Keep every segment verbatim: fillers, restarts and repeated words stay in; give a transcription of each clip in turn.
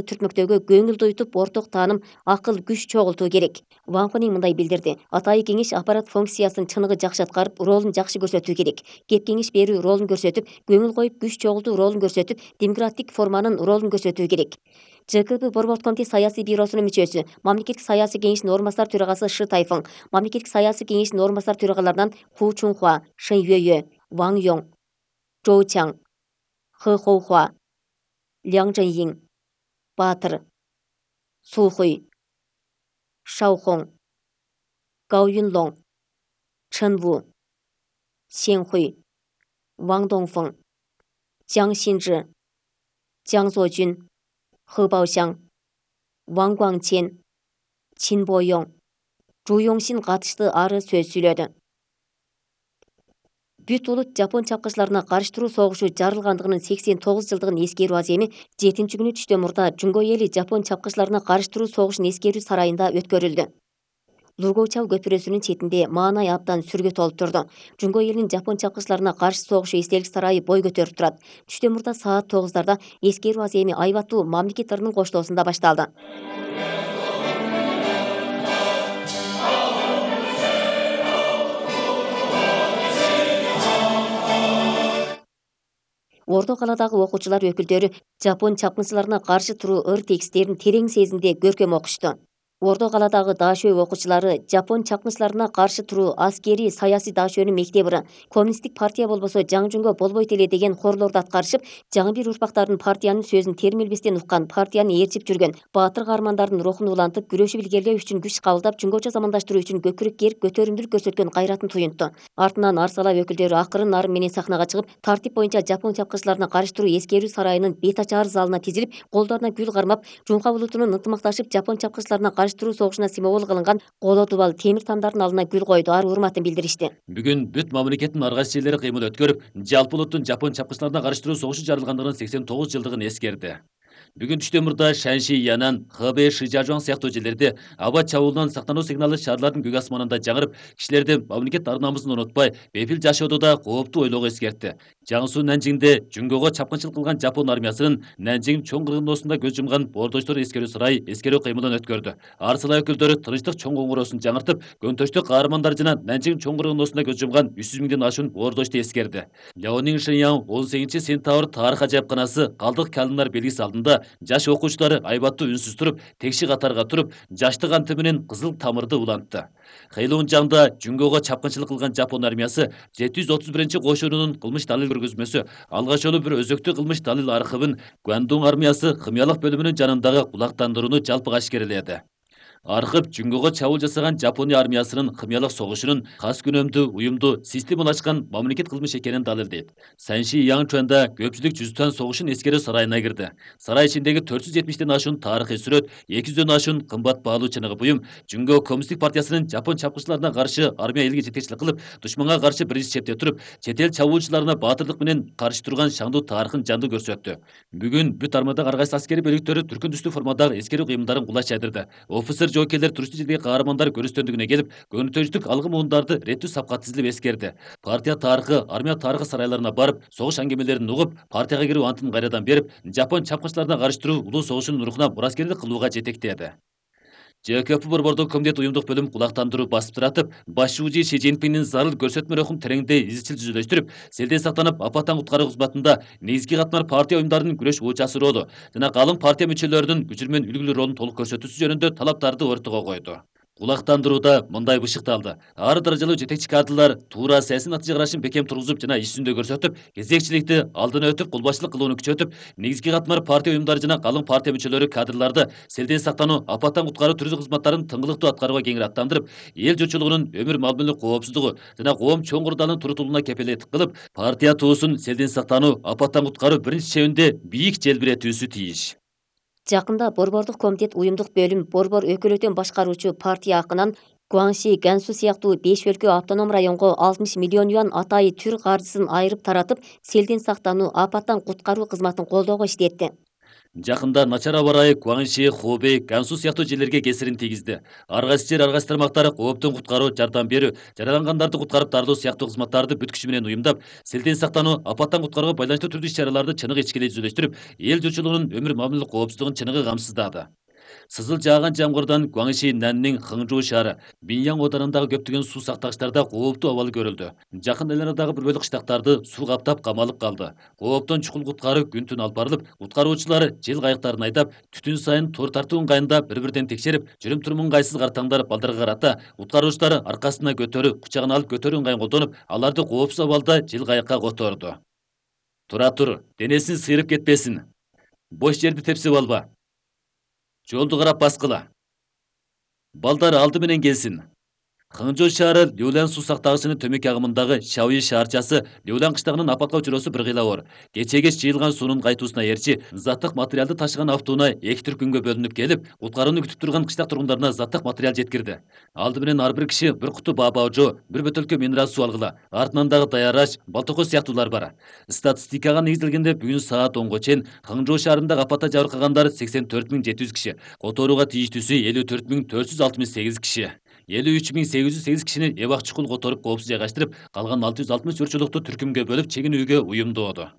түртмөктөөгө көңүл уйтуп, орток тааным, акыл, күч чогултуу керек. Ван Хунин мындай билдирди. Атайы кеңеш аппарат функциясын чыныгы жакшы аткарып, ролун жакшы көрсөтүү керек. Кеп кеңеш берүү ролун көрсөтүп, көңүл коюп, күч чогултуу ролун көрсөтүп, демократик форманын ролун көрсөтүү керек. ЖКП Борбордук комитет саясий бюросунун мүчөсү, мамлекеттик саясий кеңештин орун басар төрагасы Шы Тайфың, мамлекеттик саясий кеңештин орун басар төрагаларынан Ху Чунхуа, Шэн Юэйэ, Ван Йоң, Жоу Чаң, Хэ Хоухуа, Ляң Чжэньин, Баатыр, Су Хуй, Шао Хong, Гау Юнлоң, Чэн Ву, Сен Хуй, Ван Доңфeng, Jiang Xinzhi, Jiang Zuojun, He Baoxiang, Wang Guangqian, Qin Boyong, Zhu Yongxin катышты ары сөз сүйлөдү. Бүт улут Жапон чапкычыларына каршы туруу согушу жарылгандыгынын сексен тогуз жылдыгын эскерүү аземи жетинчи күнү түштө мурда Жунго эли Жапон чапкычыларына каршы туруу согушун эскерүү сарайында өткөрүлдү. Лургоучал көпүрөсүнүн четинде маанай абдан сүргө толуп турду. Жунго элинин Жапон чапкычыларына каршы согушу эстелик сарайы бой көтөрүп турат. Түштө мурда саат тогуздарда эскерүү аземи Айбаттуу мамлекет ырынын коштоосунда башталды. Ордо калаадагы окуучулар өкүлдөрү Жапон чапкынчыларына каршы туруу ыр тексттерин терең сезимде көркөм окушту. Ордо калаадагы Даашөө окуучулары Жапон чапкынчыларына каршы туруу аскерий саясий Даашөөнүн мектеп ыры, коммунисттик партия болбосо жаңы жунго болбойт эле деген хорлорду аткарышып, жаңы бир урпактардын партиянын сөзүн термилбестен уккан, партияны ээрчип жүргөн баатыр каармандардын рухун улантып, күрөшүп илгерилөө үчүн күч кабылдап, жунгоча замандаштыруу үчүн көкүрөк керип, көтөрүмдүүлүк көрсөткөн кайратын туюнтту. Артынан Арсалап өкүлдөрү акырын нарын менен сахнага чыгып, тартип боюнча Жапон чапкынчыларына каршы туруу эскерүү сарайынын бет ачаар залына тизилип, колдоруна гүл кармап, Жунха улутунун ынтымакташып Жапон чапкынчыларына каршы туруу согушуна символ кылынган коло дубал темир тамдардын алдына гүл койду, ар урматын билдиришти. Бүгүн бүт мамлекеттин ар кайсы жерлери кыймыл өткөрүп, жалпы улуттун Жапон чапкынчыларына каршы туруу согушу жарылгандыгынын сексен тогуз жылдыгын эскерди. Бүгүн түштө мурда Шанши, Янан, Хэбэй, Шижажуан сыяктуу жерлерде аба чабуулунан сактануу сигналы шаарлардын көк асманында жаңырып, кишилерди мамлекет ар намысын унутпай, бепил жашоодо да кооптуу ойлоого эскертти. Жаңсу Нанжиңде Жунгого чапкынчылык кылган Жапон армиясынын Нанжиң чоң кыргындоосунда көз жумган боордоштор эскерүү сарайы эскерүү кыймылын өткөрдү. Арсала өкүлдөрү тынчтык чоң коңгуроосун жаңыртып, көнтөштүк каармандар жана Нанжиң чоң кыргындоосунда көз жумган үч жүз миңден ашуун боордошту эскерди. Ляонин Шэньян он сегизинчи сентябрь тарых ажайыпканасы калдык калымдар белгиси алдында жаш окуучулары айбаттуу үнсүз туруп, текши катарга туруп, жаштык анты менен кызыл тамырды улантты. Хэйлунжаңда Жунгого чапкынчылык кылган Жапон армиясы жети жүз отуз биринчи кошунунун кылмыш далил көргөзмөсү, алгач жолу бир өзөктүү кылмыш далил архивин Гуандун армиясы хымиялык бөлүмүнүн жанындагы кулактандырууну жалпыга ашкереледи. Архив Жунгого чабуул жасаган Жапония армиясынын хымиялык согушунун кас күнөмдүү, уюмдуу, системалашкан мамлекет кылмыш экенин далилдейт. Санши Янчуанда көпчүлүк жүзтөн согушун эскерүү сарайына кирди. Сарай ичиндеги төрт жүз жетимиштен ашуун тарыхый сүрөт, эки жүздөн ашуун кымбат баалуу чыныгы буюм Жунго коммунисттик партиясынын Жапон чапкынчыларына каршы армия элге жетекчилик кылып, душманга каршы биринчи чепте туруп, чет эл чабуучуларына баатырдык менен каршы турган шаңдуу тарыхын жандуу көрсөттү. Бүгүн бүт армадагы ар кайсы аскерий бөлүктөрү түркүн түстүү формадагы эскерүү кыймылдарын кулаш жайдырды. Офицер жоокейлер туристтик жердеги каармандар көрүстөндүгүнө келип, көнүтөчтүк алгы муундарды реттүү сапка тизилип эскерди. Партия тарыхы, армия тарыхы сарайларына барып, согуш аңгемелерин угуп, партияга кирүү антын кайрадан берип, Жапон чапкынчыларына каршы туруу улуу согушунун рухуна мураскерлик кылууга жетектеди. ЖКП Борбордук комитет уюмдук бөлүм кулактандыруу басып туратып, башчы Ши Цзиньпиндин зарыл көрсөтмө рухун тереңдей изчил түзүлүштүрүп, селден сактанып, апаттан куткаруу кызматында негизги катмар партия уюмдарынын күрөш учасы ролу жана калың партия мүчөлөрүнүн күчүрмөн үлгүлүү ролун толук көрсөтүүсү жөнүндө талаптарды ортого койду. Кулактандырууда мындай бышыкталды. Ар даражалуу жетекчи кадрлар туура саясий натыйжа карашын бекем тургузуп жана иш жүзүндө көрсөтүп, кезекчиликти алдына өтүп, кулбашчылык кылууну күчөтүп, негизги катмар партия уюмдары жана калың партия мүчөлөрү кадрларды селден сактануу, апаттан куткаруу түрдүү кызматтарын тыңгылыктуу аткарууга кеңири аттандырып, эл журтчулугунун өмүр мал-мүлк коопсуздугу жана коом чоң курдалын турутулууна кепилдик кылып, партия туусун селден сактануу, апаттан куткаруу биринчи чебинде бийик желбиретүүсү тийиш. Жакында Борбордук комитет уюмдук бөлүм борбор өкүлөтөн башкаруучу партия акынан Гуанши, Гансу сыяктуу беш өлкө автоном районго алтымыш миллион юан атайы түр каржысын айырып таратып, селден сактануу, апаттан куткаруу кызматын колдоого иштетти. Жакында начар аба ырайы Гуанши, Хубей, Гансу сыяктуу жерлерге кесирин тийгизди. Ар кайсы жер, ар кайсы тармактар кооптон куткаруу, жардам берүү, жаралангандарды куткарып тардоо сыяктуу кызматтарды бүт күчү менен уюмдап, селден сактануу, апаттан куткарууга байланыштуу түрдүү иш-чараларды чыныгы ичкилей жүзөлөштүрүп, эл журтчулугунун өмүр мамиле коопсуздугун чыныгы камсыздады. Сызыл жааган жамгырдан Гуанши Наннин Хыңжуу шаары, Биньян оданындагы көптөгөн суу сактагычтарда кооптуу абал көрүлдү. Жакын айланадагы бир бөлүк кыштактарды суу каптап камалып калды. Кооптон чукул куткаруу күн түн алып барылып, куткаруучулар жел кайыктарын айдап, түтүн сайын тор тартуу ыңгайында бири-бирден текшерип, жүрүм-турум ыңгайсыз картаңдар балдарга карата куткаруучулар аркасына көтөрүү, кучагына алып көтөрүү ыңгайын колдонуп, аларды коопсуз абалда жел кайыкка которду. Тура тур, денесин сыйрып кетпесин. Бош жерди тепсип алба. Жолду карап баскыла. Балдар алды менен келсин. Хыңжоо шаары Люлян суу сактагычынын төмөк агымындагы Шауи шаарчасы Люлян кыштагынын апатка учуроосу бир кыйла оор. Кече-кеч жыйылган суунун кайтуусуна ээрчи заттык материалды ташыган автоунаа эки түркүмгө бөлүнүп келип, куткарууну күтүп турган кыштак тургундарына заттык материал жеткирди. Алды менен ар бир киши бир куту баабаожо, бир бөтөлкө минерал суу алгыла. Артынан дагы даяраш, балтокос сыяктуулар бар. Статистикага негизделгенде бүгүн саат онго чейин Хыңжоо шаарында апатта жабыркагандар сексен төрт миң жети жүз киши, которууга тийиштүүсү элүү төрт миң төрт жүз алтымыш сегиз киши. элүү үч миң сегиз жүз сегиз кишини эбак чукул которуп коопсуз жайгаштырып, калган алты жүз алтымыш журтчулукту түркүмгө бөлүп чегинүүгө уюмдоодо.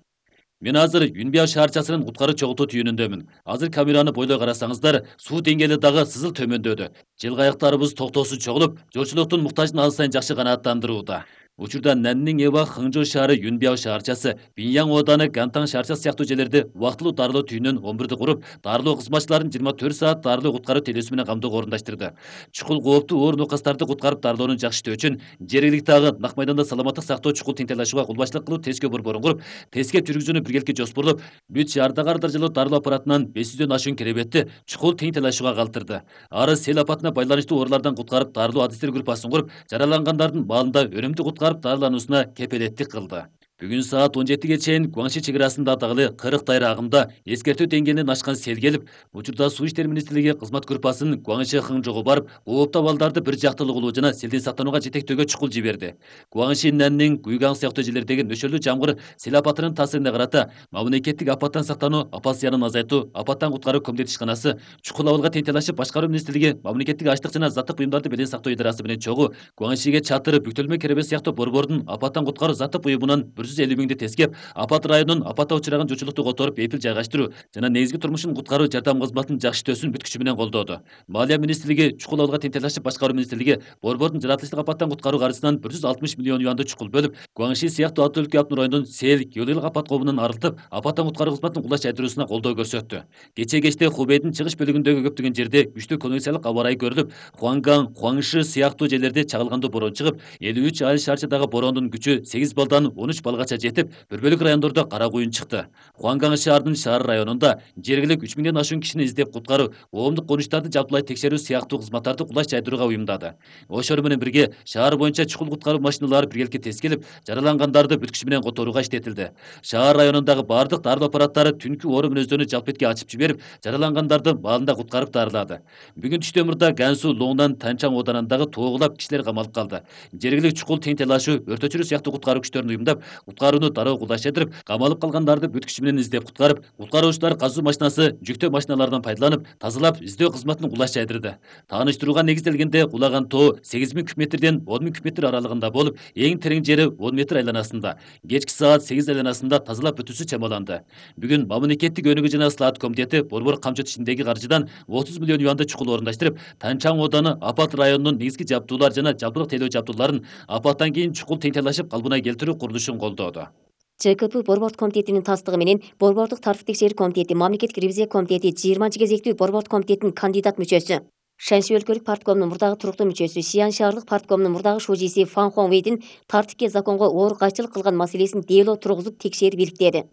Мен азыр Юнбяо шаарчасынын куткаруу чогултуу түйүнүндөмүн. Азыр камераны бойлой карасаңыздар, суу деңгээли дагы сызыл төмөндөдү. Жел кайыктарыбыз токтоосуз чогулуп, жолчулуктун муктажын ал сайын жакшы канааттандырууда. Учурда Наннин эбак Хыңжоо шаары Юнбяо шаарчасы, Биньян ооданы Гантан шаарчасы сыяктуу жерлерди убактылуу дарылоо түйүнөн он бирди куруп, дарылоо кызматчыларын жыйырма төрт саат дарылоо куткаруу телесүү менен камдоого орундаштырды. Чукул кооптуу оор нокастарды куткарып дарылоону жакшы иштөө үчүн жергиликти агы нак майданда саламаттык сактоо чукул тең талашууга кол башчылык кылуу тескөө борборун куруп, тескеп жүргүзүүнү биргеликке жоспорлоп, бүт шаардагы ар даражалуу дарылоо аппаратынан беш жүздөн ашуун керебетти чукул тең талашууга калтырды. Ары сел апатына байланыштуу оорулардан куткарып дарылоо адистер группасын куруп, жаралангандардын баалында өнүмдүү куткарып дарылануусуна кепелеттик кылды. Бүгүн саат он жетиге чейин Гуанши чек арасында дагы кырк дайра агымда эскертүү деңгээлинен ашкан сел келип, учурда Суу иштери министрлиги кызмат группасын Гуанши Хыңжоого барып, кооптуу абалдарды бир жактылуу кылуу жана селден сактанууга жетектөөгө чукул жиберди. Гуанши Наннин Гуйган сыяктуу жерлердеги нөшөлдүү жамгыр сел апатынын таасирине карата мамлекеттик апаттан сактануу, апат зыянын азайтуу, апаттан куткаруу комитети ишканасы, чукул абалга тең талашып башкаруу министрлиги, мамлекеттик ачлык жана заттык буюмдарды белең сактоо идарасы менен чогуу Гуаншиге чатыр, бүктөлмө керебет сыяктуу борбордун апаттан куткаруу заттык буюмунан бир жүз элүү миңди тескеп, апат районунун апатта учураган журтчулукту которуп, эпил жайгаштыруу жана негизги турмушун куткаруу жардам кызматынын жакшы иштөөсүн бүт күчү менен колдоду. Малия министрлиги, чукул абалга тең талашып башкаруу министрлиги борбордун жаратылыштык апаттан куткаруу каржысынан бир жүз алтымыш миллион юанды чукул бөлүп, Гуанши сыяктуу ат өлкө Аптын районунун сел, геологиялык апат коомунан арылтып, апаттан куткаруу кызматынын кулаш жайдыруусуна колдоо көрсөттү. Кече кечте Хубейдин чыгыш бөлүгүндөгү көптөгөн жерде күчтүү конвекциялык аба ырайы көрүлүп, Хуанган, Хуаңши сыяктуу жерлерде чагылгандуу борон чыгып, элүү үч айыл шаарчадагы борондун күчү сегиз балдан он үч балгача жетип, бир бөлүк райондордо кара куюн чыкты. Хуанган шаарынын шаар районунда жергилик үч миңден ашуун кишини издеп куткаруу, коомдук конуштарды жалпылай текшерүү сыяктуу кызматтарды кулаш жайдырууга уюмдады. Ошол менен бирге шаар боюнча чукул куткаруу машиналары биргеликке тескелип, жаралангандарды бүт күчү менен которууга иштетилди. Шаар районундагы бардык дарылоо аппараттары түнкү оору мүнөздөрүнү жалп этке ачып жиберип, жаралангандарды баалында куткарып дарылады. Бүгүн түштөн мурда Гансу Лоңдан Танчаң оданындагы тоогулап кишилер камалып калды. Жергилик чукул тең талашуу, өрт өчүрүү сыяктуу куткаруу күчтөрүн уюмдап, куткарууну дароо кулдаштырып, камалып калгандарды бүт күчү менен издеп куткарып, куткаруучулар казуу машинасы, жүктөө машиналарынан пайдаланып, тазалап, издөө кызматын кулаш жайдырды. Тааныштырууга негизделгенде кулаган тоо сегиз миң куб метрден он миң куб метр аралыгында болуп, эң терең жери он метр айланасында. Кечки саат сегиз айланасында тазалап бүтүүсү чамаланды. Бүгүн мамлекеттик өнүгүү жана слаат комитети борбор камчы ишиндеги каржыдан отуз миллион юанды чукул орундаштырып, Танчаң ооданы апат районунун негизги жабдуулар жана жалпылык тейлөө жабдууларын апаттан кийин чукул тең талашып калыбына келтирүү курулушун колдоду. ЧКП борбордук комитетинин тастыгы менен борбордук тартип текшерүү комитети, мамлекеттик ревизия комитети жыйырманчы кезектүү борбордук комитетинин кандидат мүчөсү, Шанши өлкөлүк парткомунун мурдагы туруктуу мүчөсү, Сиан шаардык парткомунун мурдагы шужиси Фан Хуаңвейдин тартипке, законго оор кайчылык кылган маселесин дело тургузуп текшерип иликтеди.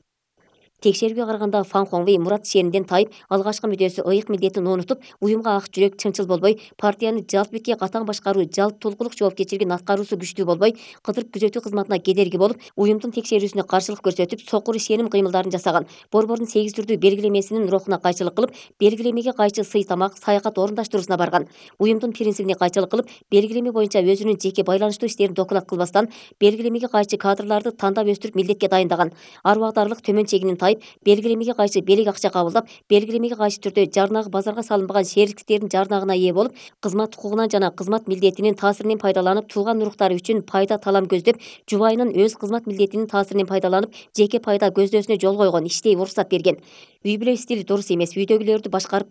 Текшерүүгө караганда Фан Хуаңвей мурат шениден тайып, алгачкы мүдөсү ыйык милдетин унутуп, уюмга ак жүрөк, чынчыл болбой, партияны жалп бетке катаң башкаруу, жалп толкулук жоопкерчилигин аткаруусу күчтүү болбой, кыдырып күзөтүү кызматына кедерги болуп, уюмдун текшерүүсүнө каршылык көрсөтүп, сокур ишеним кыймылдарын жасаган, борбордун сегиз түрдүү белгилемесинин рухуна кайчылык кылып, белгилемеге кайчы сый тамак, саякат орундаштыруусуна барган, уюмдун принцибине кайчылык кылып, белгилеме боюнча өзүнүн жеке байланыштуу иштерин доклад кылбастан, белгилемеге кайчы кадрларды тандап өстүрүп милдетке дайындаган, ар убактарлык төмөн чегинин тайып, байып, белгилемеге кайшы белек акча кабылдап, белгилемеге кайшы түрдө жарнагы базарга салынбаган шериктердин жарнагына ээ болуп, кызмат укугунан жана кызмат милдетинин таасиринен пайдаланып, тууган уруктары үчүн пайда талам көздөп, жубайынын өз кызмат милдетинин таасиринен пайдаланып, жеке пайда көздөсүнө жол койгон, иштей уруксат берген. Үй бүлө стили дурус эмес, үйдөгүлөрдү башкарып